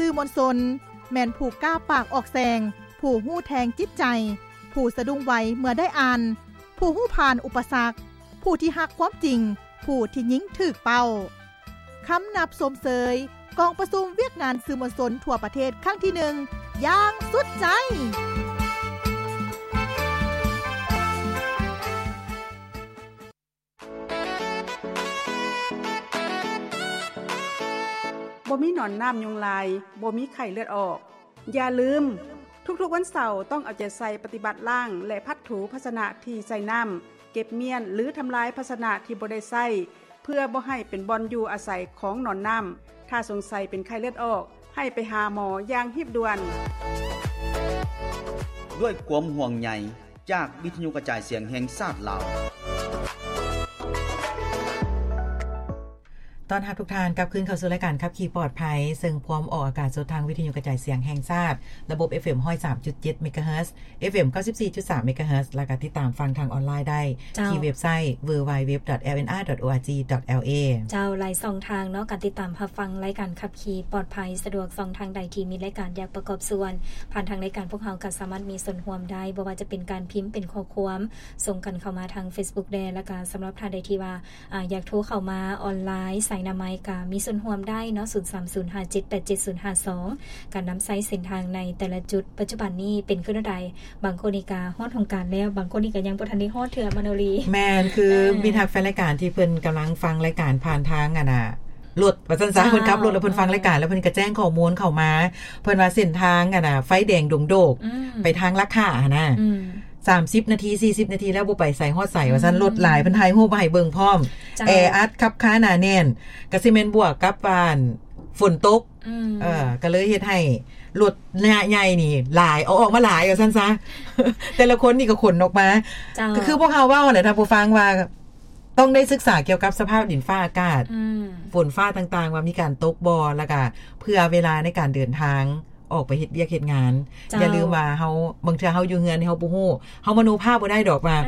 ສື່ມວນຊົນ ແມ່ນຜູ້ກ້າປາກອອກແສງ, ຜູ້ຮູ້ແທງຈິດໃຈ, ຜູ້ສະດຸ້ງໄວເມື່ອໄດ້ອ່ານ, ຜູ້ຮູ້ຜ່ານອຸປະສັກ, ຜູ້ທີ່ຮັກຄວາມຈິງ, ຜູ້ທີ່ຍິງຖືກເປົ້າ. ຄຳນັບຊົມເຊີຍກອງປະຊຸມວຽກງານສື່ມວນຊົນທົ່ວປະເທດຄັ້ງທີໜຶ່ງຢ່າງສຸດໃຈ. ບໍ່ມີໜອນນ້ຳຍຸງລາຍ, ບໍ່ມີໄຂ້ເລືອດອອກ. ຢ່າລືມ, ທຸກໆວັນເສົາຕ້ອງເອົາໃຈໃສ່ປະຕິບັດລ້າງ ແລະ ພັດຖູພາຊະນະທີ່ໃສ່ນ້ຳ, ເກັບມ້ຽນ ຫຼື ທຳລາຍພາຊະນະທີ່ບໍ່ໄດ້ໃຊ້ ເພື່ອບໍ່ໃຫ້ເປັນບ່ອນຢູ່ອາໄສຂອງໜອນນ້ຳ. ຖ້າສົງໄສເປັນໄຂ້ເລືອດອອກ, ໃຫ້ໄປຫາໝໍຢ່າງຮີບດ່ວນ. ດ້ວຍຄວາມຫ່ວງໃຍຈາກວິທະຍຸກະຈາຍສຽງແຫ່ງຊາດລາວ. ຕ້ອນຮັບທຸກທ່ານກັບຄືນເຂົ້າສູ່ລາຍການຂັບຂີ່ປອດໄພ, ເຊິ່ງພວມອອກອາກາດສົດທາງວິທະຍຸກະຈາຍສຽງແຫ່ງຊາດ, ລະບົບ ເອັຟເອັມ ຮ້ອຍສາມຈຸດເຈັດ ເມກາເຮີດ, ເອັຟເອັມ ເກົ້າສິບສີ່ຈຸດສາມ ເມກາເຮີດ, ແລ້ວກໍຕິດຕາມຟັງທາງອອນລາຍໄດ້ ເຈົ້າ ທີ່ເວັບໄຊ www.lnr.org.la. ເຈົ້າ ຫຼາຍຊ່ອງທາງເນາະ ການຕິດຕາມຮັບຟັງລາຍການຂັບຂີ່ປອດໄພສະດວກ. ຊ່ອງທາງໃດທີ່ມີລາຍການຢາກປະກອບສ່ວນ ຜ່ານທາງລາຍການ ພວກເຮົາກໍສາມາດມີສ່ວນຮ່ວມໄດ້, ບໍ່ວ່າຈະເປັນການພິມເປັນຂໍ້ຄວາມ ສົ່ງກັນເຂົ້າມາທາງເຟສບຸກແດ່ ແລ້ວກໍສຳລັບທ່ານໃດທີ່ວ່າ ອາ ຢາກໂທເຂົ້າມາອອນລາຍ ສາຍໜ້າໄມກະມີສ່ວນຮ່ວມໄດ້ເນາະ ສູນສາມສູນຫ້າເຈັດແປດເຈັດສູນຫ້າສອງ. ການນຳໃຊ້ເສັ້ນທາງໃນແຕ່ລະຈຸດປັດຈຸບັນນີ້ເປັນຄືແນວໃດ? ບາງຄົນນີ້ກະຮອດຫ້ອງການແລ້ວ, ບາງຄົນນີ້ກະຍັງບໍ່ທັນໄດ້ຮອດເທື່ອ ມະໂນລີ. ແມ່ນ, ຄື ເອີ ມິດຮັກແຟນລາຍການທີ່ເພິ່ນກຳລັງຟັງລາຍການຜ່ານທາງ ອັນນ່າ ລົດວ່າຊັ້ນຊະ, ເຈົ້າ ເພິ່ນຂັບລົດແລ້ວເພິ່ນຟັງລາຍການ ເອີ ແລ້ວເພິ່ນກະແຈ້ງຂໍ້ມູນເຂົ້າມາ, ເພິ່ນວ່າເສັ້ນທາງ ອັນນ່າ ໄຟແດງດົງໂດກ ອືມ ໄປທາງລາຄາຫັ້ນນະ ອືມ ສາມສິບນາທີ ສີ່ສິບນາທີແລ້ວບໍ່ໄປໃສຮອດໃສວ່າຊັ້ນ, ອືມ ລົດຫຼາຍ ເພິ່ນຖ່າຍຮູບມາໃຫ້ເບິ່ງພ້ອມ, ເຈົ້າ ແອອັດຄັບຄາໜາແໜ້ນ, ກະຊິແມ່ນບວກກັບ ອັນ ຝົນຕົກ ອືມ ເອີ ກະເລີຍເຮັດໃຫ້ລົດໃຫຍ່ນີ້ຫຼາຍ ເອົາອອກມາຫຼາຍວ່າຊັ້ນຊະ, ແຕ່ລະຄົນນີ້ກະຂົນອອກມາ, ເຈົ້າ ກະຄືພວກເຮົາເວົ້າຫັ້ນແຫຼະທ່ານຜູ້ຟັງວ່າ ຕ້ອງໄດ້ສຶກສາກ່ຽວກັບສະພາບດິນຟ້າອາກາດ ອືມ ຝົນຟ້າຕ່າງໆ ວ່າມີການຕົກບໍ່ ແລ້ວກະເພື່ອເວລາໃນການເດີນທາງ ອອກໄປເຮັດວຽກເຮັດງານ. ເຈົ້າ ຢ່າລືມວ່າເຮົາ ບາງເທື່ອເຮົາຢູ່ເຮືອນເຮົາບໍ່ຮູ້, ເຮົາມະໂນພາບບໍ່ໄດ້ດອກວ່າ ອາ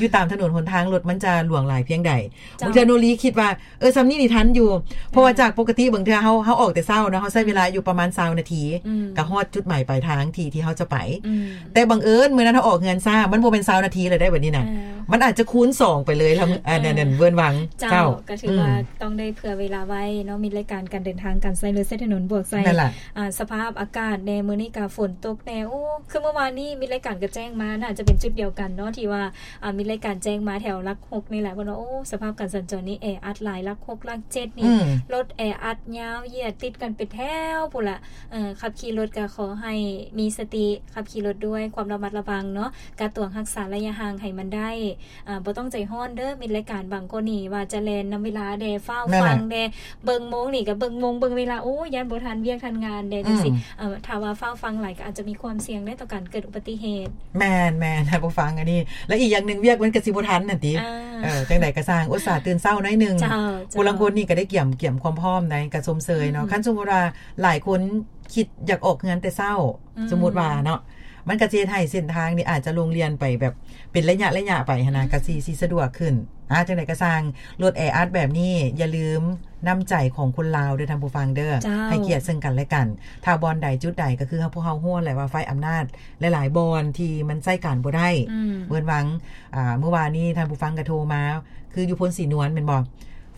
ຢູ່ຕາມຖະໜົນຫົນທາງລົດມັນຈະຫຼວງຫຼາຍພຽງໃດ. ເຈົ້າ ບາງເທື່ອໂນລີຄິດວ່າ ເອີ ສ່ຳນີ້ນີ້ທັນຢູ່, ເພາະວ່າ ອືມ ຈາກປົກກະຕິບາງເທື່ອເຮົາ ເຮົາອອກແຕ່ເຊົ້າເນາະ, ເຮົາໃຊ້ເວລາ ອືມ ຢູ່ປະມານຊາວນາທີ ອືມ ກະຮອດຈຸດໝາຍປາຍທາງທີ່ ທີ່ເຮົາຈະໄປ. ອືມ ແຕ່ບັງເອີນມື້ນັ້ນເຮົາອອກເຮືອນຊ້າ, ມັນບໍ່ແມ່ນຊາວນາທີແລ້ວໄດ໋ບັດນີ້ນະ, ເອີ ມັນອາດຈະຄູນສອງໄປເລີຍ ເອີ ອັນນັ້ນ ອັນນັ້ນເວີນວັງ. ເຈົ້າ ເຈົ້າ ກະຖືວ່າ ອືມ ຕ້ອງໄດ້ເຜື່ອເວລາໄວ້ເນາະ, ມີລາຍການການເດີນທາງ ການໃຊ້ລົດໃຊ້ຖະໜົນບວກໃສ່ ນັ້ນລະ ອາ ສະພາບອາກາດແດ່, ມື້ນີ້ກະຝົນຕົກແດ່. ໂອ້ ຄືເມື່ອວານນີ້ມິດລາຍການກະແຈ້ງມາ ໜ້າຈະເປັນຈຸດດຽວກັນເນາະ ທີ່ວ່າ ອາ ມີລາຍການແຈ້ງມາແຖວຫຼັກຫົກນີ້ແຫຼະ, ເພິ່ນວ່າ ໂອ້ ສະພາບການສັນຈອນນີ້ແອອັດຫຼາຍ, ຫຼັກຫົກ ຫຼັກເຈັດນີ້ ອືມ ລົດແອອັດຍາວຢຽດຕິດກັນເປັນແຖວພຸ້ນລະ. ເອີ ຂັບຂີ່ລົດກະຂໍໃຫ້ມີສະຕິ, ຂັບຂີ່ລົດດ້ວຍຄວາມລະມັດລະວັງເນາະ, ກະຕວງຮັກສາໄລຍະຫ່າງໃຫ້ມັນໄດ້. ອາ ບໍ່ຕ້ອງໃຈຮ້ອນເດີ ມິດລາຍການ, ບາງຄົນນີ້ວ່າຈະແລ່ນນຳເວລາແດ່ ຟ້າວຟັງແດ່, ເບິ່ງໂມງນີ້ກະເບິ່ງໂມງເບິ່ງເວລາ, ໂອ້ ຢ້ານບໍ່ທັນວຽກທັນງານແດ່ ອືມ ຈັ່ງຊີ້. ເອີ ຖ້າວ່າຟ້າວຟັງຫຼາຍກະອາດຈະມີຄວາມສ່ຽງເດ້ຕໍ່ການເກີດອຸບັດຕິເຫດ. ແມ່ນ ແມ່ນ ທ່ານຜູ້ຟັງ ອັນນີ້ ແລະ ອີກຢ່າງໜຶ່ງວຽກມັນກະຊິບໍ່ທັນຫັ້ນຕິ. ເອີ ຈັ່ງໃດກະຊ່າງ ອຸດສ່າຕື່ນເຊົ້າໜ້ອຍໜຶ່ງ. ເຈົ້າ ຜູ້ລາງຄົນນີ້ກະໄດ້ກຽມ ກຽມຄວາມພ້ອມໃດ໋ ກະຊົມເຊີຍເນາະ. ອືມ ຄັນສົມມຸດວ່າຫຼາຍຄົນຄິດຢາກອອກເຮືອນແຕ່ເຊົ້າ ອືມ ສົມມຸດວ່າເນາະ, ມັນກະຊິເຮັດໃຫ້ເສັ້ນທາງນີ້ອາດຈະໂລ່ງລ່ຽນໄປແບບເປັນໄລຍະໆໄປຫັ້ນນະ, ອືມ ກະຊິ ຊິສະດວກຂຶ້ນ. ອາ ຈັ່ງໃດກະຊ່າງ, ລົດແອອັດແບບນີ້ ຢ່າລືມນ້ຳໃຈຂອງຄົນລາວເດີທ່ານຜູ້ຟັງເດີ, ເຈົ້າ ໃຫ້ກຽດເຊິ່ງກັນແລະກັນ. ຖ້າບ່ອນໃດຈຸດໃດ ກະຄືພວກເຮົາຮູ້ແຫຼະວ່າໄຟອຳນາດຫຼາຍໆບ່ອນທີ່ມັນໃຊ້ການບໍ່ໄດ້. ອືມ ເວີນວັງ ອາ ມື້ວານນີ້ທ່ານຜູ້ຟັງກະໂທມາ, ຄືຢູ່ໂພນສີນວນແມ່ນບໍ່?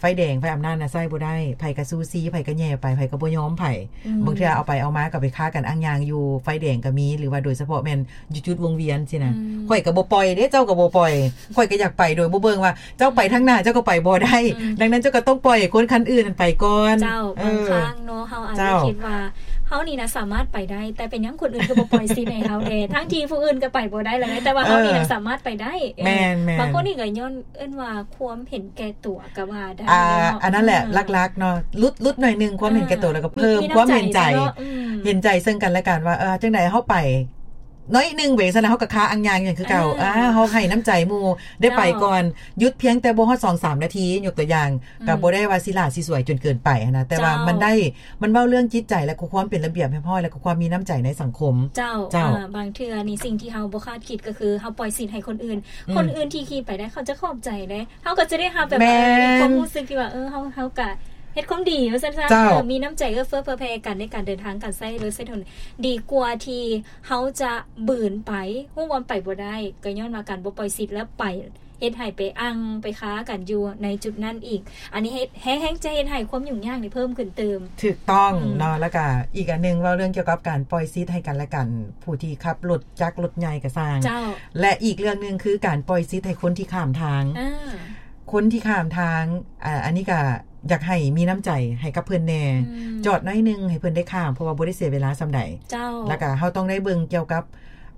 ໄຟແດງ ໄຟອຳນາດນະໃຊ້ບໍ່ໄດ້, ໃຜກະຊູຊີ, ໃຜກະແຍ່ໄປ, ໃຜກະບໍ່ຍອມໃຜ. ອືມ ບາງເທື່ອເອົາໄປເອົາມາກະໄປຄາກັນອ່າງຍາງຢູ່ໄຟແດງກະມີ, ຫຼືວ່າໂດຍສະເພາະແມ່ນຢູ່ຈຸດວົງວຽນຊີ້ນະ. ອືມ ຂ້ອຍກະບໍ່ປ່ອຍເດ້, ເຈົ້າກະບໍ່ປ່ອຍ, ຂ້ອຍກະຢາກໄປໂດຍບໍ່ເບິ່ງວ່າເຈົ້າໄປທາງໜ້າເຈົ້າກະໄປບໍ່ໄດ້. ອືມ ດັ່ງນັ້ນເຈົ້າກະຕ້ອງປ່ອຍໃຫ້ຄົນຄັນອື່ນຫັ້ນໄປກ່ອນ. ເຈົ້າ ເອີ ບາງຄັ້ງເນາະ ເຮົາອາດຈະ ເຈົ້າ ຄິດວ່າເຮົານີ້ນະສາມາດໄປໄດ້, ແຕ່ເປັນຫຍັງຄົນອື່ນຄືບໍ່ປ່ອຍສິດໃຫ້ເຮົາແດ່? ທັງທີ່ຜູ້ອື່ນກະໄປບໍ່ໄດ້ແລ້ວ, ແຕ່ວ່າເຮົານີ້ນະ ເອີ ສາມາດໄປໄດ້. ເອີ ແມ່ນໆ ບາງຄົນນີ້ກະຍ້ອນ ເອີ້ນວ່າຄວາມເຫັນແກ່ຕົວກະວ່າໄດ້ ອາ ເນາະ. ອັນນັ້ນແຫຼະ ອືມ ຫຼັກໆເນາະ, ຫຼຸດ ຫຼຸດໜ້ອຍໜຶ່ງຄວາມເຫັນແກ່ຕົວ ອືມ ແລ້ວກະເພີ່ມຄວາມເຫັນໃຈ. ມີ ມີນ້ຳໃຈເນາະ ອືມ ເຫັນໃຈເຊິ່ງກັນແລະກັນວ່າ ເອີ ຈັ່ງໃດເຮົາໄປໜ້ອຍໜຶ່ງເວຊັ້ນນະ ເຮົາກະຄາອ່າງຍາງຫຍັງຄືເກົ່າ. ເອີ ອາ ເຮົາໃຫ້ນ້ຳໃຈໝູ່ໄດ້ໄປກ່ອນ, ເຈົ້າ ຢຸດພຽງແຕ່ບໍ່ຮອດສອງສາມນາທີ ຍົກຕົວຢ່າງ ອືມ ກະບໍ່ໄດ້ວ່າຊິຫຼ້າຊິສວຍຈົນເກີນໄປຫັ້ນນະ, ແຕ່ວ່າ ເຈົ້າ ມັນໄດ້ ມັນເວົ້າເລື່ອງຈິດໃຈ ແລະກະຄວາມເປັນລະບຽບຮຽບຮ້ອຍ ແລະກະຄວາມມີນ້ຳໃຈໃນສັງຄົມ. ເຈົ້າ ເຈົ້າ ອາ ບາງເທື່ອນີ້ສິ່ງທີ່ເຮົາບໍ່ຄາດຄິດກະຄືເຮົາປ່ອຍສິດໃຫ້ຄົນອື່ນ, ອືມ ຄົນອື່ນທີ່ຂີ່ໄປໄດ້ເຂົາຈະຂອບໃຈເດ້. ເຮົາກະຈະໄດ້ຮັບແບບ ແມ່ນ ເອີ ຄວາມຮູ້ສຶກທີ່ວ່າ ເອີ ເຮົາ ເຮົາກະ ເຮັດຄວາມດີວ່າຊັ້ນຊະ ເຈົ້າ ເອີ ມີນ້ຳໃຈເອື້ອເຟື້ອເຜື່ອແຜ່ກັນໃນການເດີນທາງ ການໃຊ້ລົດໃຊ້ຖະໜົນ ດີກວ່າທີ່ເຮົາຈະບືນໄປ ຮູ້ວ່າໄປບໍ່ໄດ້ ກໍຍ້ອນວ່າການບໍ່ປ່ອຍສິດ ແລ້ວໄປເຮັດໃຫ້ໄປອັ່ງໄປຄາກັນຢູ່ໃນຈຸດນັ້ນອີກ. ອັນນີ້ເຮັດ ແຮງ ແຮງຈະເຮັດໃຫ້ຄວາມຫຍຸ້ງຍາກນີ້ເພີ່ມຂຶ້ນຕື່ມ. ຖືກຕ້ອງ ອືມ ເນາະ. ແລ້ວກະອີກອັນໜຶ່ງ ເວົ້າເລື່ອງກ່ຽວກັບການປ່ອຍສິດໃຫ້ກັນແລະກັນ ຜູ້ທີ່ຂັບລົດຈັກລົດໃຫຍ່ກໍຊ່າງ ເຈົ້າ ແລະ ອີກເລື່ອງໜຶ່ງຄືການປ່ອຍສິດໃຫ້ຄົນທີ່ຂ້າມທາງ ອ່າ ຄົນທີ່ຂ້າມທາງ ອາ ອັນນີ້ກະຢາກໃຫ້ມີນ້ຳໃຈໃຫ້ກັບເພິ່ນແດ່ ອືມ ຈອດໜ້ອຍໜຶ່ງໃຫ້ເພິ່ນໄດ້ຂ້າມ ເພາະວ່າບໍ່ໄດ້ເສຍເວລາສ່ຳໃດ ເຈົ້າ ແລ້ວກະເຮົາຕ້ອງໄດ້ເບິ່ງກ່ຽວກັ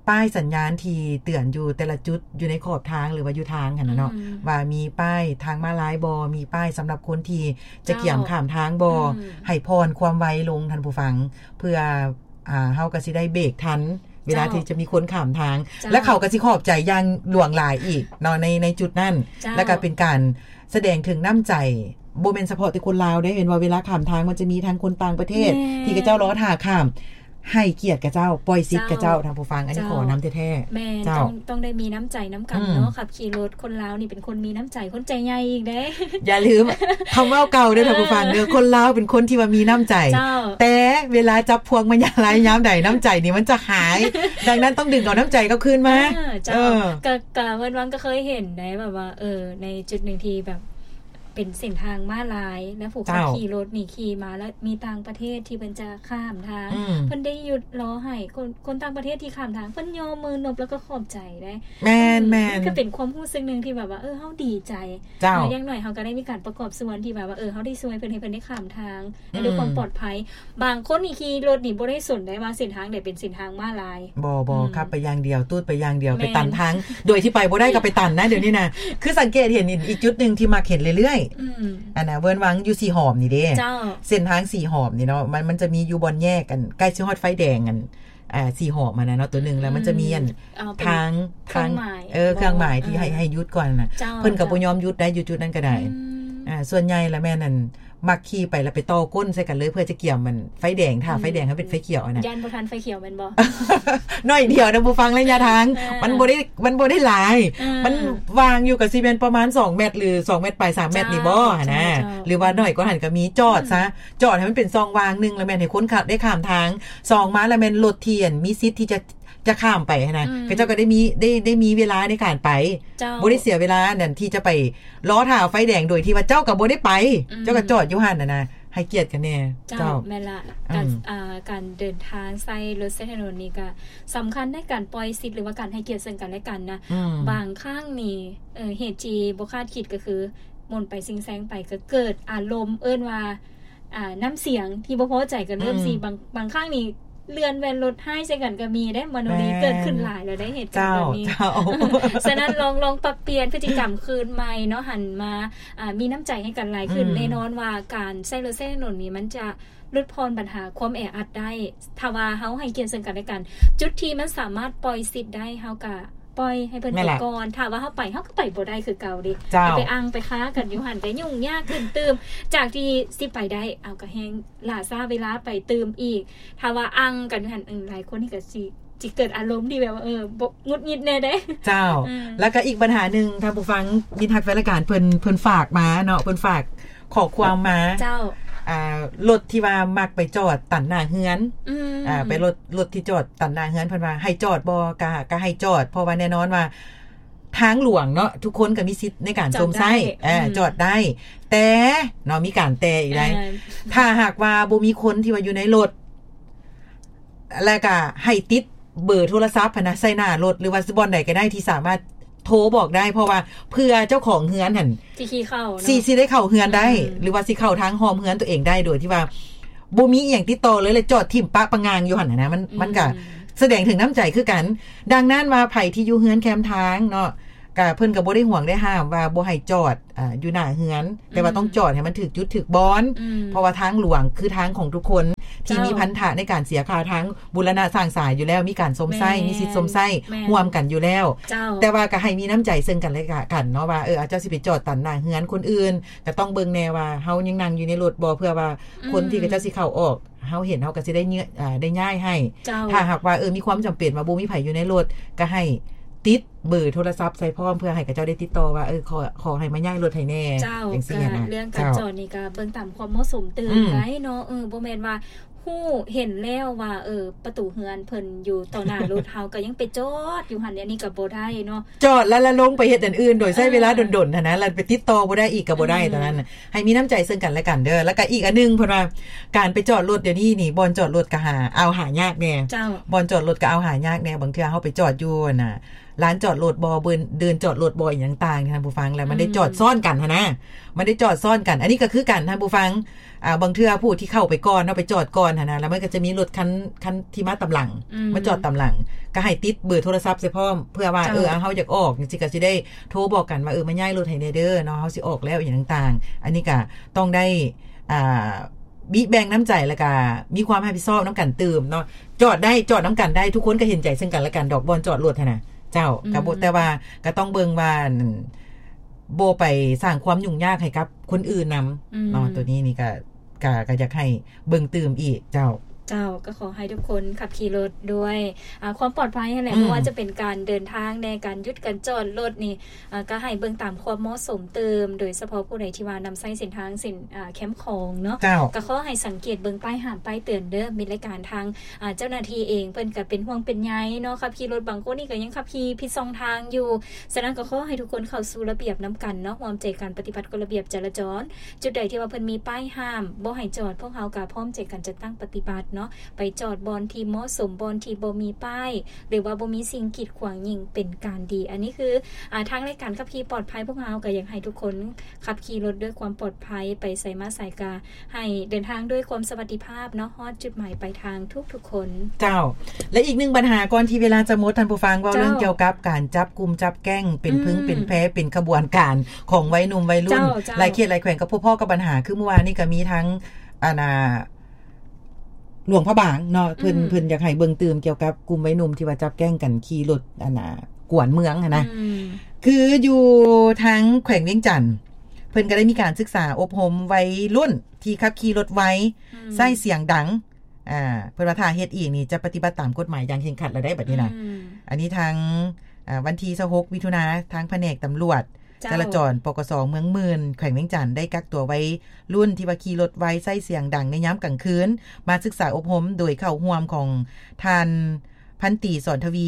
ບປ້າຍສັນຍານທີ່ເຕືອນຢູ່ແຕ່ລະຈຸດ ຢູ່ໃນຂອບທາງ ຫຼືວ່າຢູ່ທາງຫັ້ນນະເນາະ ອືມ ວ່າມີປ້າຍທາງມ້າລາຍບໍ່ ມີປ້າຍສຳລັບຄົນທີ່ຈະ ເຈົ້າ ກຽມຂ້າມທາງບໍ່ ອືມ ໃຫ້ຜ່ອນຄວາມໄວລົງ ທ່ານຜູ້ຟັງ ເພື່ອ ອ່າ ເຮົາກໍຊິໄດ້ເບຣກທັນ ເວລາ ເຈົ້າ ທີ່ຈະມີຄົນຂ້າມທາງ ເຈົ້າ ແລະ ເຂົາກໍຊິຂອບໃຈຢ່າງຫຼວງຫຼາຍອີກເນາະ ໃນ ໃນຈຸດນັ້ນ ເຈົ້າ ແລະ ກໍເປັນການສະແດງເຖິງນ້ຳໃຈ ບໍ່ແມ່ນສະເພາະແຕ່ຄົນລາວເດ້ ເຫັນວ່າເວລາຂ້າມທາງມັນຈະມີທັງຄົນຕ່າງປະເທດ ແມ່ນ ທີ່ເຂົາເຈົ້າລໍຖ້າຂ້າມ ໃຫ້ກຽດເຂົາເຈົ້າ ປ່ອຍສິດ ເຈົ້າ ເຂົາເຈົ້າ ທ່ານຜູ້ຟັງ ອັນນີ້ ເຈົ້າ ຂໍນຳແທ້ໆ ແມ່ນ ເຈົ້າ ຕ້ອງ ຕ້ອງໄດ້ມີນ້ຳໃຈນຳກັນເນາະ ອືມ ຂັບຂີ່ລົດ ຄົນລາວນີ້ເປັນຄົນມີນ້ຳໃຈ ຄົນໃຈໃຫຍ່ອີກເດ້ ຢ່າລືມຄຳເວົ້າເກົ່າເດີ ເອີ ທ່ານຜູ້ຟັງເດີ ຄົນລາວເປັນຄົນທີ່ວ່າມີນ້ຳໃຈ ເຈົ້າ ແຕ່ເວລາຈັບພວງມາຍາມໃດ ນ້ຳໃຈນີ້ມັນຈະຫາຍ ດັ່ງນັ້ນຕ້ອງດຶງເອົານ້ຳໃຈກັບຄືນມາ ເອີ ເຈົ້າ ເອີ ກະ ກະເວີນວັງກໍເຄີຍເຫັນໄດ໋ ແບບວ່າ ເອີ ໃນຈຸດໜຶ່ງທີ່ແບບ ເປັນເສັ້ນທາງມ້າລາຍ ແລະ ຜູ້ຂັບ ເຈົ້າ ຂີ່ລົດນີ້ຂີ່ມາ ແລ້ວມີຕ່າງປະເທດທີ່ເພິ່ນຈະຂ້າມທາງ ອືມ ເພິ່ນໄດ້ຢຸດລໍໃຫ້ຄົນ ຄົນຕ່າງປະເທດທີ່ຂ້າມທາງ ເພິ່ນຍໍມືນົບ ແລ້ວກໍຂອບໃຈໄດ໋ ແມ່ນ ອືມ ແມ່ນ ມັນກໍເປັນຄວາມຮູ້ສຶກໜຶ່ງທີ່ແບບວ່າ ເອີ ເຮົາດີໃຈ ເຈົ້າ ເອີ ຢ່າງໜ້ອຍເຮົາກໍໄດ້ມີການປະກອບສ່ວນທີ່ແບບວ່າ ເອີ ເຮົາໄດ້ຊ່ວຍເພິ່ນ ໃຫ້ເພິ່ນໄດ້ຂ້າມທາງ ອືມ ດ້ວຍຄວາມປອດໄພ. ບາງຄົນນີ້ຂີ່ລົດນີ້ບໍ່ໄດ້ສົນໄດ້ວ່າເສັ້ນທາງໃດເປັນເສັ້ນທາງມ້າລາຍ ບໍ່ ບໍ່ ອືມ ຂັບໄປຢ່າງດຽວ ຕູດໄປຢ່າງດຽວ ແມ່ນ ໄປຕັນທາງ ໂດຍທີ່ໄປບໍ່ໄດ້ກໍໄປຕັນນະ ດຽວນີ້ນະ ຄືສັງເກດເຫັນອີກຈຸດໜຶ່ງທີ່ມັກເຫັນເລື້ອຍໆ ອືມ ອັນນ່າ ເວີນວັງຢູ່ສີຫອມນີ້ເດ້ ເຈົ້າ ເສັ້ນທາງສີຫອມນີ້ເນາະ ມັນ ມັນຈະມີຢູ່ບ່ອນແຍກ ອັນ ໃກ້ຊິຮອດໄຟແດງ ອັນ ອ່າ ສີຫອມຫັ້ນນະເນາະ ໂຕໜຶ່ງ ແລ້ວມັນຈະມີ ອືມ ອັນ ເອີ ເປັນ ທາງ ເຄື່ອງໝາຍ ທາງ ເອີ ເຄື່ອງໝາຍທີ່ໃຫ້ ເອີ ໃຫ້ຢຸດກ່ອນນະ ເຈົ້າ ເພິ່ນກໍບໍ່ຍອມຢຸດໄດ້ ເຈົ້າ ຢູ່ຈຸດນັ້ນກໍໄດ້ ອືມ ອ່າ ສ່ວນໃຫຍ່ລະແມ່ນ ອັນ ມັກຂີ່ໄປແລ້ວໄປຕໍ່ກົ້ນໃສ່ກັນເລີຍ ເພື່ອຈະກຽມມັນໄຟແດງ ຖ້າ ອືມ ໄຟແດງໃຫ້ເປັນໄຟຂຽວຫັ້ນນະ ຢ້ານບໍ່ທັນໄຟຂຽວແມ່ນບໍ່? ໜ້ອຍດຽວນະ ຜູ້ຟັງ ໄລຍະທາງ ເອີ ມັນບໍ່ໄດ້ ມັນບໍ່ໄດ້ຫຼາຍ ເອີ ມັນວ່າງຢູ່ກໍຊິແມ່ນປະມານສອງແມັດ ຫຼື ສອງແມັດປາຍ ສາມແມັດນີ້ບໍ່ ເຈົ້າ ຫັ້ນນະ ເຈົ້າ ເຈົ້າ ຫຼືວ່າໜ້ອຍກວ່າຫັ້ນກໍມີ ຈອດຊະ ອືມ ຈອດໃຫ້ມັນເປັນຊ່ອງວ່າງ ໜຶ່ງ ລະແມ່ນໃຫ້ຄົນຂ້າມ ໄດ້ຂ້າມທາງ ສອງ ມາລະແມ່ນລົດທີ່ ອັນ ມີສິດທີ່ຈະ ຈະຂ້າມໄປຫັ້ນນະ ອືມ ເຂົາເຈົ້າກໍໄດ້ມີ ໄດ້ ໄດ້ມີເວລາໃນການໄປ ເຈົ້າ ບໍ່ໄດ້ເສຍເວລານັ້ນທີ່ຈະໄປລໍຖ້າໄຟແດງໂດຍທີ່ວ່າເຈົ້າກໍບໍ່ໄດ້ໄປ ອືມ ເຈົ້າກໍຈອດຢູ່ຫັ້ນຫັ້ນນະ ໃຫ້ກຽດກັນແດ່ ເຈົ້າ ເຈົ້າ ແມ່ນລະ ອືມ ການ ອ່າ ການເດີນທາງໃຊ້ລົດໃຊ້ຖະໜົນນີ້ກໍສຳຄັນໃນການປ່ອຍສິດ ຫຼືວ່າການໃຫ້ກຽດເຊິ່ງກັນແລະກັນນະ ອືມ ບາງຄັ້ງນີ້ ເອີ ເຫດທີ່ບໍ່ຄາດຄິດກໍຄື ໝູນໄປຊິງແຊງໄປ ກໍເກີດອາລົມ ເອີ້ນວ່າ ອ່າ ນ້ຳສຽງທີ່ບໍ່ພໍໃຈກັນ ເລີ່ມ ອືມ ຊິ ບາງ ບາງຄັ້ງນີ້ເລື່ອນແວ່ນລົດຮ້າຍໃສ່ກັນກໍມີເດ້ ມະໂນລີ ແມ່ນ ເກີດຂຶ້ນຫຼາຍແລ້ວໄດ໋ ເຫດການແບບນີ້ ເຈົ້າ ເຈົ້າ ສະນັ້ນລອງ ລອງປັບປ່ຽນພຶດຕິກຳຄືນໃໝ່ເນາະ ຫັນມາ ອ່າ ມີນ້ຳໃຈໃຫ້ກັນຫຼາຍຂຶ້ນ ອືມ ແນ່ນອນວ່າການໃຊ້ລົດໃຊ້ຖະໜົນນີ້ ມັນຈະຫຼຸດຜ່ອນບັນຫາຄວາມແອອັດໄດ້ ຖ້າວ່າເຮົາໃຫ້ກຽດເຊິ່ງກັນແລະກັນ ຈຸດທີ່ມັນສາມາດປ່ອຍສິດໄດ້ ເຮົາກໍ ປ່ອຍໃຫ້ເພິ່ນໄປກ່ອນ ຖ້າວ່າເຮົາໄປ ເຮົາກໍໄປບໍ່ໄດ້ຄືເກົ່າເດ້ ເຈົ້າ ໄປອັ່ງໄປຄາກັນຢູ່ຫັ້ນ ກໍຫຍຸ້ງຍາກຂຶ້ນຕື່ມ ຈາກທີ່ຊິໄປໄດ້ ເອົາ ກໍແຮ່ງຫຼ້າຊ້າເວລາໄປຕື່ມອີກ ຖ້າວ່າອັ່ງກັນຢູ່ຫັ້ນ ເອີ ຫຼາຍຄົນນີ້ກໍຊິ ຊິເກີດອາລົມທີ່ແບບວ່າ ເອີ ບໍ່ ຫງຸດຫງິດແດ່ເດ້ ເຈົ້າ ອືມ ແລ້ວກໍອີກບັນຫາໜຶ່ງ ທ່ານຜູ້ຟັງ ມິດຮັກແຟນລາຍການ ເພິ່ນ ເພິ່ນຝາກມາເນາະ ເພິ່ນຝາກ ຂໍ້ຄວາມມາ ເຈົ້າ ອ່າ ລົດທີ່ວ່າມັກໄປຈອດຕັນໜ້າເຮືອນ ອືມ ອ່າ ໄປລົດ ລົດທີ່ຈອດຕັນໜ້າເຮືອນ ເພິ່ນວ່າໃຫ້ຈອດບໍ່ ກະ ກະໃຫ້ຈອດ ເພາະວ່າແນ່ນອນວ່າທາງຫຼວງເນາະ ທຸກຄົນກໍມີສິດໃນການຊົມໃຊ້ ຈອດໄດ້ ເອີ ອືມ ຈອດໄດ້ ແຕ່ເນາະ ມີການແຕ່ອີກໄດ໋ ເອີ ຖ້າຫາກວ່າບໍ່ມີຄົນທີ່ວ່າຢູ່ໃນລົດ ແລ້ວກະໃຫ້ຕິດເບີໂທລະສັບຫັ້ນນະ ໃສ່ໜ້າລົດ ຫຼືວ່າບ່ອນໃດກໍໄດ້ທີ່ສາມາດ ໂທບອກໄດ້ ເພາະວ່າເພື່ອເຈົ້າຂອງເຮືອນຫັ້ນ ຊິຂີ່ເຂົ້າເນາະ ຊິ ຊິໄດ້ເຂົ້າເຮືອນໄດ້ ອືມ ຫຼືວ່າຊິເຂົ້າທາງອ້ອມເຮືອນຕົວເອງໄດ້ ໂດຍທີ່ວ່າບໍ່ມີອີ່ຫຍັງຕິດຕໍ່ເລີຍ ແລະ ຈອດຖິ້ມປະປະງາງຢູ່ຫັ້ນນະ ມັນ ອືມ ມັນກະສະແດງເຖິງນ້ຳໃຈຄືກັນ. ດັ່ງນັ້ນວ່າໃຜທີ່ຢູ່ເຮືອນແຄມທາງເນາະ ກະເພິ່ນກະບໍ່ໄດ້ຫວງໄດ້ຫ້າມວ່າບໍ່ໃຫ້ຈອດ ອ່າ ຢູ່ໜ້າເຮືອນ ແຕ່ວ່າ ອືມ ຕ້ອງຈອດໃຫ້ມັນຖືກຈຸດຖືກບ່ອນ ອືມ ເພາະວ່າທາງຫຼວງຄືທາງຂອງທຸກຄົນ ທີ່ ເຈົ້າ ມີພັນທະໃນການເສຍຄ່າທາງ ບູລະນະສ້າງສາຢູ່ແລ້ວ ມີການຊົມໃຊ້ ແມ່ນ ມີສິດຊົມໃຊ້ ແມ່ນ ຮ່ວມກັນຢູ່ແລ້ວ ເຈົ້າ ແຕ່ວ່າກໍໃຫ້ມີນ້ຳໃຈເຊິ່ງກັນແລະກັນເນາະ ວ່າ ເອີ ອາ ເຈົ້າຊິໄປຈອດຕັນໜ້າເຮືອນຄົນອື່ນ ກໍຕ້ອງເບິ່ງແດ່ວ່າເຮົາຍັງນັ່ງຢູ່ໃນລົດບໍ່ ເພື່ອວ່າ ອືມ ຄົນທີ່ເຂົາເຈົ້າຊິເຂົ້າອອກ ເຮົາເຫັນເຮົາກໍຊິໄດ້ເງືອ ອ່າ ໄດ້ຍ້າຍໃຫ້ ເຈົ້າ ຖ້າຫາກວ່າ ເອີ ມີຄວາມຈຳເປັນວ່າບໍ່ມີໃຜຢູ່ໃນລົດ ກໍໃຫ້ ຕິດເບີໂທລະສັບໃສ່ພ້ອມ ເພື່ອໃຫ້ເຂົາເຈົ້າໄດ້ຕິດຕໍ່ວ່າ ເອີ ຂໍ ຂໍໃຫ້ມາຍ້າຍລົດໃຫ້ແດ່ ເຈົ້າ ຈັ່ງຊີ້ຫັ້ນນະ. ກໍເລື່ອງການຈອດນີ້ກໍເບິ່ງຕາມຄວາມເໝາະສົມຕື່ມໄດ້ເນາະ. ເອີ ບໍ່ແມ່ນວ່າຮູ້ເຫັນແລ້ວວ່າ ເອີ ປະຕູເຮືອນເພິ່ນຢູ່ຕໍ່ໜ້າລົດ ເຮົາກໍຍັງໄປຈອດຢູ່ຫັ້ນ ອັນນີ້ກໍບໍ່ໄດ້ເນາະ. ຈອດແລ້ວລະລົງໄປເຮັດອັນອື່ນ ໂດຍໃຊ້ເວລາດົນໆຫັ້ນນະ ແລ້ວໄປຕິດຕໍ່ບໍ່ໄດ້ອີກກໍບໍ່ໄດ້. ຕອນນັ້ນໃຫ້ມີນ້ຳໃຈເຊິ່ງກັນແລະກັນເດີ. ແລ້ວກໍອີກອັນໜຶ່ງ ເພິ່ນວ່າການໄປຈອດລົດດຽວນີ້ນີ້ ບ່ອນຈອດລົດກໍຫາ ເອົາຫາຍາກແດ່. ເຈົ້າ ບ່ອນຈອດລົດກໍເອົາຫາຍາກແດ່. ບາງເທື່ອເຮົາໄປຈອດຢູ່ ອັນນ່າ ລານຈອດລົດບໍ່ ເດີ່ນ ເດີ່ນຈອດລົດບໍ່ ອີ່ຫຍັງຕ່າງໆ ທ່ານຜູ້ຟັງ ແລ້ວມັນໄດ້ຈອດຊ້ອນກັນຫັ້ນນະ ມັນໄດ້ຈອດຊ້ອນກັນ. ອັນນີ້ກໍຄືກັນ ທ່ານຜູ້ຟັງ ອ່າ ບາງເທື່ອຜູ້ທີ່ເຂົ້າໄປກ່ອນເນາະ ໄປຈອດກ່ອນຫັ້ນນະ ແລ້ວມັນກໍຈະມີລົດຄັນ ຄັນທີ່ມາຕາມຫຼັງ ມາຈອດຕາມຫຼັງ ກໍໃຫ້ຕິດເບີໂທລະສັບໃສ່ພ້ອມ ເພື່ອວ່າ ເອີ ເຮົາຢາກອອກຈັ່ງຊີ້ ກໍຊິໄດ້ໂທບອກກັນວ່າ ເອີ ມາຍ້າຍລົດໃຫ້ແດ່ເດີເນາະ ເຮົາຊິອອກແລ້ວ ອີ່ຫຍັງຕ່າງໆ. ອັນນີ້ກໍຕ້ອງໄດ້ ອ່າ ບິແບ່ງນ້ຳໃຈ ແລ້ວກະມີຄວາມຮັບຜິດຊອບນຳກັນຕື່ມເນາະ. ຈອດໄດ້ ຈອດນຳກັນໄດ້ ທຸກຄົນກໍເຫັນໃຈເຊິ່ງກັນແລະກັນດອກ ບ່ອນຈອດລົດຫັ້ນນະ. ເຈົ້າ ກໍບໍ່ ແຕ່ວ່າກໍຕ້ອງເບິ່ງວ່າ ອັນ ບໍ່ໄປສ້າງຄວາມຫຍຸ້ງຍາກໃຫ້ກັບຄົນອື່ນນຳເນາະ. ໂຕນີ້ນີ້ກໍ ກໍ ກໍຢາກໃຫ້ເບິ່ງຕື່ມອີກ. ເຈົ້າ ເຈົ້າ ກໍຂໍໃຫ້ທຸກຄົນຂັບຂີ່ລົດດ້ວຍ ອ່າ ຄວາມປອດໄພຫັ້ນແຫຼະ. ບໍ່ວ່າຈະເປັນການເດີນທາງແດ່ ການຢຸດ ການຈອດລົດນີ້ ອ່າ ກໍໃຫ້ເບິ່ງຕາມຄວາມເໝາະສົມຕື່ມ ໂດຍສະເພາະຜູ້ໃດທີ່ວ່ານຳໃຊ້ເສັ້ນທາງ ເສັ້ນ ອ່າ ແຄມຂອງເນາະ. ເຈົ້າ ກໍຂໍໃຫ້ສັງເກດເບິ່ງປ້າຍຫ້າມ ປ້າຍເຕືອນເດີ. ມີລາຍການທາງ ອ່າ ເຈົ້າໜ້າທີ່ເອງ ເພິ່ນກໍເປັນຫ່ວງເປັນໃຍເນາະ. ຂັບຂີ່ລົດບາງຄົນນີ້ກໍຍັງຂັບຂີ່ຜິດຊ່ອງທາງຢູ່. ສະນັ້ນກໍຂໍໃຫ້ທຸກຄົນເຂົ້າສູ່ລະບຽບນຳກັນເນາະ ຮ່ວມໃຈກັນປະຕິບັດກົດລະບຽບຈະລາຈອນ. ຈຸດໃດທີ່ວ່າເພິ່ນມີປ້າຍຫ້າມບໍ່ໃຫ້ຈອດ ພວກເຮົາກໍພ້ອມໃຈກັນຈັດຕັ້ງປະຕິບັດເນາະ ໄປຈອດບ່ອນທີ່ເໝາະສົມ ບ່ອນທີ່ບໍ່ມີປ້າຍ ຫຼືວ່າບໍ່ມີສິ່ງກີດຂວາງຍິ່ງເປັນການດີ. ອັນນີ້ຄື ອ່າ ທາງລາຍການຂັບຂີ່ປອດໄພ ພວກເຮົາກໍຢາກໃຫ້ທຸກຄົນຂັບຂີ່ລົດດ້ວຍຄວາມປອດໄພ ໄປໃສມາໃສກໍໃຫ້ເດີນທາງດ້ວຍຄວາມສະຫວັດດີພາບເນາະ ຮອດຈຸດໝາຍປາຍທາງທຸກໆຄົນ. ເຈົ້າ ແລະ ອີກໜຶ່ງບັນຫາ ກ່ອນທີ່ເວລາຈະໝົດ ທ່ານຜູ້ຟັງ ເວົ້າເລື່ອງກ່ຽວກັບການຈັບກຸ່ມຈັບແກ້ງ ເປັນພຶງເປັນແພ ເປັນຂະບວນການຂອງໄວໜຸ່ມໄວລຸ້ນ ຫຼາຍເຂດຫຼາຍແຂວງກໍພົບພໍ້ກັບບັນຫາ ຄືມື້ວານນີ້ກໍມີທັງ ອັນນ່າ ຫຼວງພະບາງເນາະ ເພິ່ນ ເພິ່ນຢາກໃຫ້ເບິ່ງຕື່ມກ່ຽວກັບກຸ່ມໄວໜຸ່ມທີ່ວ່າຈັບແກ້ງກັນຂີ່ລົດ ອັນນ່າ ກວນເມືອງຫັ້ນນະ. ຄືຢູ່ທາງແຂວງວຽງຈັນ ເພິ່ນກໍໄດ້ມີການສຶກສາອົບຮົມໄວລຸ້ນທີ່ຂັບຂີ່ລົດໄວ ໃຊ້ສຽງດັງ ອ່າ ເພິ່ນວ່າຖ້າເຮັດອີກນີ້ຈະປະຕິບັດຕາມກົດໝາຍຢ່າງເຄັ່ງຄັດແລ້ວໄດ໋ ບັດນີ້ນະ. ອັນນີ້ທາງ ອ່າ ວັນທີຊາວຫົກ ມິຖຸນາ ທາງພະແນກຕຳຫຼວດ ເຈົ້າ ຈະລາຈອນ ປກສ ເມືອງໝື່ນ ແຂວງວຽງຈັນ ໄດ້ກັກຕົວໄວລຸ້ນທີ່ວ່າຂີ່ລົດໄວ ໃຊ້ສຽງດັງໃນຍາມກາງຄືນ ມາສຶກສາອົບຮົມ ໂດຍເຂົ້າຮ່ວມຂອງທ່ານພັນຕີ ສອນທະວີ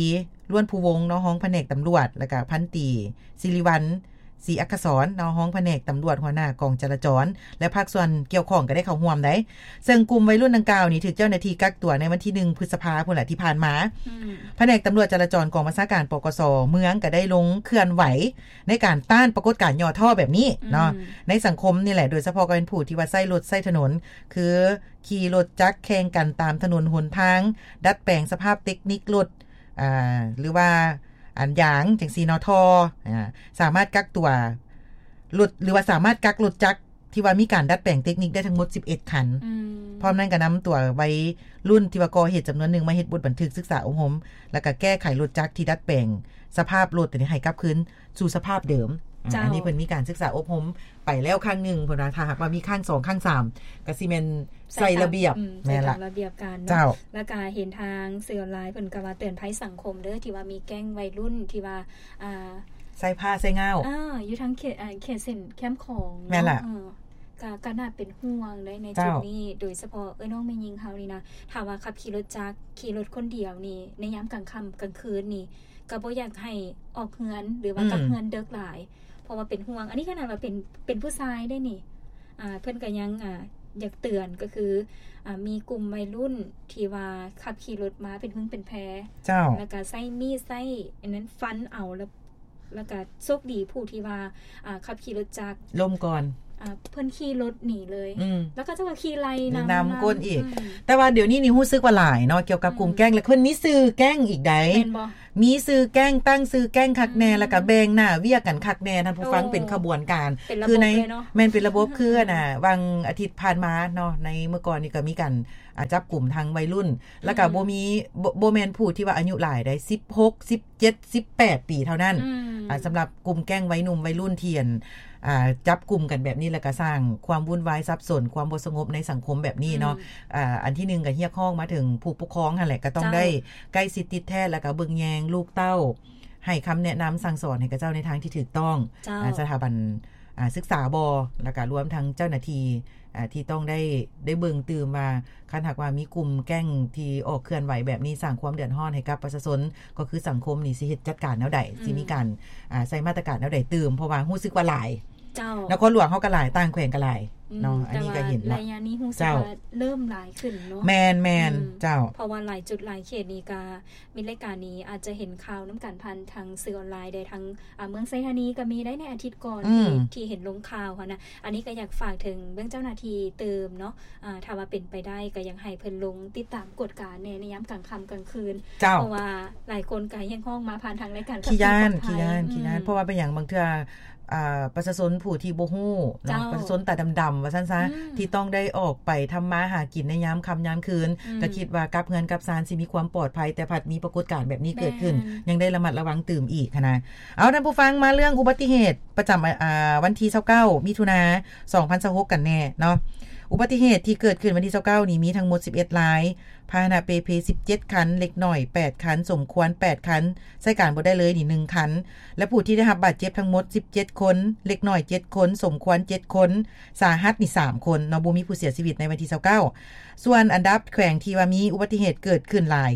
ລ້ວນພູວົງ ເນາະ ຮອງພະແນກຕຳຫຼວດ ແລ້ວກະພັນຕີ ສິລິວັນ ສີອັກຂະສອນ ເນາະ ຮອງພະແນກຕຳຫຼວດ ຫົວໜ້າກອງຈະລາຈອນ ແລະ ພາກສ່ວນກ່ຽວຂ້ອງກໍໄດ້ເຂົ້າຮ່ວມໄດ໋. ເຊິ່ງກຸ່ມໄວລຸ້ນດັ່ງກ່າວນີ້ ຖືກເຈົ້າໜ້າທີ່ກັກຕົວໃນວັນທີໜຶ່ງ ພຶດສະພາພຸ້ນແຫຼະ ທີ່ຜ່ານມາ. ອືມ ພະແນກຕຳຫຼວດຈະລາຈອນ ກອງບັນຊາການ ປກສ ເມືອງ ກໍໄດ້ລົງເຄື່ອນໄຫວໃນການຕ້ານປາກົດການຫຍໍ້ທໍ້ແບບນີ້ເນາະ ອືມ ໃນສັງຄົມນີ້ແຫຼະ ໂດຍສະເພາະກໍເປັນຜູ້ທີ່ວ່າໃຊ້ລົດໃຊ້ຖະໜົນ ຄືຂີ່ລົດຈັກແຂ່ງກັນຕາມຖະໜົນຫົນທາງ, ດັດແປງສະພາບເຕັກນິກລົດ ອ່າ ຫຼືວ່າອັນຢາງຈັ່ງຊີ້ເນາະ ທໍ່ ອ່າ ສາມາດກັກຕົວລົດ ຫຼືວ່າສາມາດກັກລົດຈັກທີ່ວ່າມີການດັດແປງເຕັກນິກໄດ້ທັງໝົດສິບເອັດຄັນ. ອືມ ພ້ອມນັ້ນກໍນຳຕົວໄວລຸ້ນທີ່ວ່າກໍ່ເຫດຈຳນວນໜຶ່ງມາເຮັດບົດບັນທຶກສຶກສາອົບຮົມ ແລ້ວກໍແກ້ໄຂລົດຈັກທີ່ດັດແປງສະພາບລົດໃຫ້ກັບຄືນສູ່ສະພາບເດີມ. ອ່າ ເຈົ້າ ອັນນີ້ເພິ່ນມີການສຶກສາອົບຮົມໄປແລ້ວຄັ້ງໜຶ່ງ ເພິ່ນວ່າຖ້າຫາກວ່າມີຄັ້ງສອງ ຄັ້ງສາມ ກໍຊິແມ່ນໃສ່ລະບຽບ. ອືມ ແມ່ນລະ ໃສ່ຕາມລະບຽບການເນາະ. ເຈົ້າ ແລ້ວກໍເຫັນທາງສື່ອອນລາຍເພິ່ນກໍວ່າເຕືອນໄພສັງຄົມເດີ ທີ່ວ່າມີແກ້ງໄວລຸ້ນທີ່ວ່າ ອ່າ ໃສ່ຜ້າໃສ່ງ້າວ ອ່າ ຢູ່ທາງເຂດ ເຂດເສັ້ນແຄມຂອງເນາະ. ແມ່ນລະ ເອີ ກໍ ກໍໜ້າເປັນຫ່ວງໃນ ໃນຈຸດນີ້ ເຈົ້າ ໂດຍສະເພາະເອື້ອຍນ້ອງແມ່ຍິງເຮົານີ້ນະ ຖ້າວ່າຂັບຂີ່ລົດຈັກ ຂີ່ລົດຄົນດຽວນີ້ ໃນຍາມກາງຄ່ຳກາງຄືນນີ້ ກໍບໍ່ຢາກໃຫ້ອອກເຮືອນ ຫຼືວ່າ ອືມ ກັບເຮືອນເດິກຫຼາຍ ເພາະວ່າເປັນຫ່ວງ. ອັນນີ້ຂະໜາດວ່າເປັນ ເປັນຜູ້ຊາຍເດ້ນີ້ ອ່າ ເພິ່ນກໍຍັງ ອ່າ ຢາກເຕືອນ ກໍຄື ອ່າ ມີກຸ່ມໄວລຸ້ນທີ່ວ່າຂັບຂີ່ລົດມາເປັນພຶງເປັນແພ ເຈົ້າ ແລ້ວກໍໃຊ້ມີດ ໃຊ້ອັນນັ້ນຟັນເອົາ ແລ້ວ ແລ້ວກະໂຊກດີຜູ້ທີ່ວ່າ ອ່າ ຂັບຂີ່ລົດຈັກລົ້ມກ່ອນ ອ່າ ເພິ່ນຂີ່ລົດໜີເລີຍ ອືມ ແລ້ວເຂົາເຈົ້າກໍຂີ່ໄລ່ນຳ ນຳກົ້ນອີກ ອືມ ແຕ່ວ່າດຽວນີ້ນີ້ຮູ້ສຶກວ່າຫຼາຍເນາະ ກ່ຽວກັບກຸ່ມ ອືມ ແກ້ງ ແລະ ເພິ່ນມີຊື່ແກ້ງອີກໃດ໋ ແມ່ນບໍ່? ມີຊື່ແກ້ງ ຕັ້ງຊື່ແກ້ງຄັກແນ່ ອືມ ແລ້ວກະແບ່ງໜ້າວຽກກັນຄັກແນ່ ທ່ານຜູ້ຟັງ ໂອ້ ເປັນຂະບວນການ ເປັນລະບົບເລີຍເນາະ ຄືໃນ ແມ່ນເປັນລະບົບ ອືມ ຄື ອືມ ອັນນ່າ ຫວ່າງອາທິດຜ່ານມາເນາະ ໃນມື້ກ່ອນນີ້ກໍມີການ ອ່າ ຈັບກຸມທັງໄວລຸ້ນ ແລ້ວກໍ ອືມ ບໍ່ມີ ບໍ່ ບໍ່ແມ່ນຜູ້ທີ່ວ່າອາຍຸຫຼາຍໃດ໋ ສິບຫົກ ສິບເຈັດ ສິບແປດປີເທົ່ານັ້ນ ອືມ ອ່າ ສຳລັບກຸ່ມແກ້ງໄວໜຸ່ມໄວລຸ້ນທີ່ ອັນ ອ່າ ຈັບກຸມກັນແບບນີ້ ແລ້ວກໍສ້າງຄວາມວຸ້ນວາຍສັບສົນ ຄວາມບໍ່ສະຫງົບໃນສັງຄົມແບບນີ້ເນາະ ອືມ ອ່າ ອັນທີໜຶ່ງກໍຮຽກຮ້ອງມາເຖິງຜູ້ປົກຄອງຫັ້ນແຫຼະ ກໍຕ້ອງ ເຈົ້າ ໄດ້ໃກ້ຊິດຕິດແທດ ແລ້ວກໍເບິ່ງແຍງລູກເຕົ້າ ໃຫ້ຄຳແນະນຳສັ່ງສອນໃຫ້ເຂົາເຈົ້າໃນທາງທີ່ຖືກຕ້ອງ ເຈົ້າ ອາ ສະຖາບັນ ອາ ສຶກສາບໍ ແລ້ວກະລວມທັງເຈົ້າໜ້າທີ່ ອາ ທີ່ຕ້ອງໄດ້ ໄດ້ເບິ່ງຕື່ມວ່າ ຄັນຫາກວ່າມີກຸ່ມແກ້ງທີ່ອອກເຄື່ອນໄຫວແບບນີ້ ສ້າງຄວາມເດືອດຮ້ອນໃຫ້ກັບປະຊາຊົນ ກໍຄືສັງຄົມນີ້ ຊິເຮັດຈັດການແນວໃດ ອືມ ຊິມີການ ອາ ໃສ່ມາດຕະການແນວໃດຕື່ມ ເພາະວ່າຮູ້ສຶກວ່າຫຼາຍ ເຈົ້າ ນະຄອນຫຼວງເຮົາກໍຫຼາຍ ຕ່າງແຂວງກໍຫຼາຍ ອືມ ເນາະ ອັນນີ້ກໍເຫັນ ແຕ່ວ່າໄລຍະນີ້ຮູ້ສຶກວ່າເລີ່ມຫຼາຍຂຶ້ນເນາະ ເຈົ້າ ແມ່ນໆ ອືມ ເຈົ້າ ເພາະວ່າຫຼາຍຈຸດຫຼາຍເຂດນີ້ກໍ ມິດລາຍການນີ້ອາດຈະເຫັນຂ່າວນຳກັນຜ່ານທາງສື່ອອນລາຍໄດ້ ທາງ ອາ ເມືອງໄຊທານີກໍມີໄດ້ໃນອາທິດກ່ອນ ອືມ ທີ່ ທີ່ເຫັນລົງຂ່າວຫັ້ນນະ ອັນນີ້ກໍຢາກຝາກເຖິງເບື້ອງເຈົ້າໜ້າທີ່ຕື່ມເນາະ ອາ ຖ້າວ່າເປັນໄປໄດ້ກໍຢາກໃຫ້ເພິ່ນລົງຕິດຕາມກວດກາແດ່ໃນຍາມກາງຄ່ຳກາງຄືນ ເຈົ້າ ເພາະວ່າຫຼາຍຄົນກໍຮຽກຮ້ອງມາຜ່ານທາງລາຍການ ຂີ້ຢ້ານ ຂັບຂີ່ປອດໄພ ຂີ້ຢ້ານ ອືມ ຂີ້ຢ້ານ ເພາະວ່າເປັນຫຍັງ ບາງເທື່ອ ອາ ປະຊາຊົນຜູ້ທີ່ບໍ່ຮູ້ເນາະ ເຈົ້າ ປະຊາຊົນຕາດຳໆ ວ່າຊັ້ນຊະ ອືມ ທີ່ຕ້ອງໄດ້ອອກໄປທຳມາຫາກິນໃນຍາມຄ່ຳຍາມຄືນ ອືມ ກໍຄິດວ່າກັບເຮືອນກັບຊານຊິມີຄວາມປອດໄພ ແຕ່ພັດມີປາກົດການແບບນີ້ເກີດຂຶ້ນ ແມ່ນ ຍັງໄດ້ລະມັດລະວັງຕື່ມອີກຫັ້ນນະ. ເອົາ ທ່ານຜູ້ຟັງ ມາເລື່ອງອຸບັດຕິເຫດປະຈຳ ອາ ວັນທີຊາວເກົ້າ ມິຖຸນາ ສອງພັນຊາວຫົກ ກັນແດ່ເນາະ. ອຸບັດຕິເຫດທີ່ເກີດຂຶ້ນວັນທີຊາວເກົ້ານີ້ມີທັງໝົດສິບເອັດລາຍ, ພາຫະນະເປ່ເພສິບເຈັດຄັນ, ເລັກນ້ອຍແປດຄັນ, ສົມຄວນແປດຄັນ, ໃຊ້ການບໍ່ໄດ້ເລີຍນີ້ໜຶ່ງຄັນ ແລະ ຜູ້ທີ່ໄດ້ຮັບບາດເຈັບທັງໝົດສິບເຈັດຄົນ, ເລັກນ້ອຍເຈັດຄົນ, ສົມຄວນເຈັດຄົນ, ສາຫັດນີ້ສາມຄົນເນາະ, ບໍ່ມີຜູ້ເສຍຊີວິດໃນວັນທີຊາວເກົ້າ. ສ່ວນອັນດັບແຂວງທີ່ວ່າມີອຸບັດຕິເຫດເກີດຂຶ້ນຫຼາຍ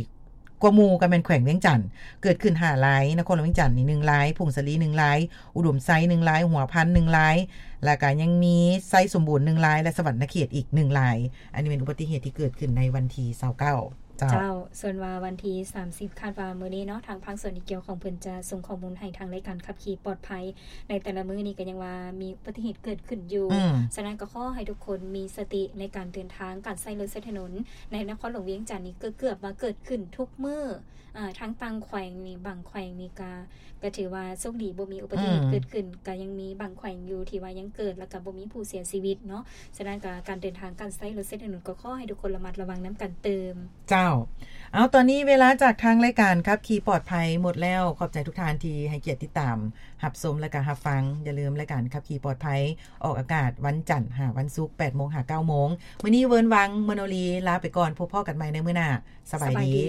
ກວ່າໝູ່ກໍແມ່ນແຂວງວຽງຈັນ ເກີດຂຶ້ນຫ້າລາຍ, ນະຄອນຫຼວງວຽງຈັນນີ້ໜຶ່ງລາຍ, ຜົ້ງສາລີໜຶ່ງລາຍ, ອຸດົມໄຊໜຶ່ງລາຍ, ຫົວພັນໜຶ່ງລາຍ, ແລ້ວກໍຍັງມີໄຊສົມບູນໜຶ່ງລາຍ ແລະ ສະຫວັນນະເຂດອີກໜຶ່ງລາຍ. ອັນນີ້ແມ່ນອຸບັດຕິເຫດທີ່ເກີດຂຶ້ນໃນວັນທີຊາວເກົ້າ. ເຈົ້າ ເຈົ້າ ສ່ວນວ່າວັນທີສາມສິບ ຄາດວ່າມື້ນີ້ເນາະ ທາງພາກສ່ວນທີ່ກ່ຽວຂ້ອງເພິ່ນຈະສົ່ງຂໍ້ມູນໃຫ້ທາງລາຍການຂັບຂີ່ປອດໄພ ໃນແຕ່ລະມື້ນີ້ກໍຍັງວ່າມີອຸບັດຕິເຫດເກີດຂຶ້ນຢູ່ ອືມ ສະນັ້ນກໍຂໍໃຫ້ທຸກຄົນມີສະຕິໃນການເດີນທາງ ການໃຊ້ລົດໃຊ້ຖະໜົນໃນນະຄອນຫຼວງວຽງຈັນນີ້ ເກືອບວ່າເກີດຂຶ້ນທຸກມື້ ອາ ທັງຕ່າງແຂວງນີ້ ບາງແຂວງນີ້ກະ ກໍຖືວ່າໂຊກດີບໍ່ມີອຸບັດຕິເຫດ ອືມ ເກີດຂຶ້ນ ກໍຍັງມີບາງແຂວງຢູ່ທີ່ວ່າຍັງເກີດ ແລ້ວກໍບໍ່ມີຜູ້ເສຍຊີວິດເນາະ. ສະນັ້ນກໍການເດີນທາງ ການໃຊ້ລົດໃຊ້ຖະໜົນ ກໍຂໍໃຫ້ທຸກຄົນລະມັດລະວັງນຳກັນຕື່ມ. ເຈົ້າ ເອົາ ຕອນນີ້ເວລາຈາກທາງລາຍການຂັບຂີ່ປອດໄພໝົດແລ້ວ. ຂອບໃຈທຸກທ່ານທີ່ໃຫ້ກຽດຕິດຕາມຮັບຊົມ ແລະ ກໍຮັບຟັງ. ຢ່າລືມ ລາຍການຂັບຂີ່ປອດໄພອອກອາກາດວັນຈັນຫາວັນສຸກ ແປດໂມງຫາເກົ້າໂມງ. ມື້ນີ້ເວີນວັງ ມະໂນລີ ລາໄປກ່ອນ. ພົບພໍ້ກັນໃໝ່ໃນມື້ໜ້າ. ສະບາຍດີ.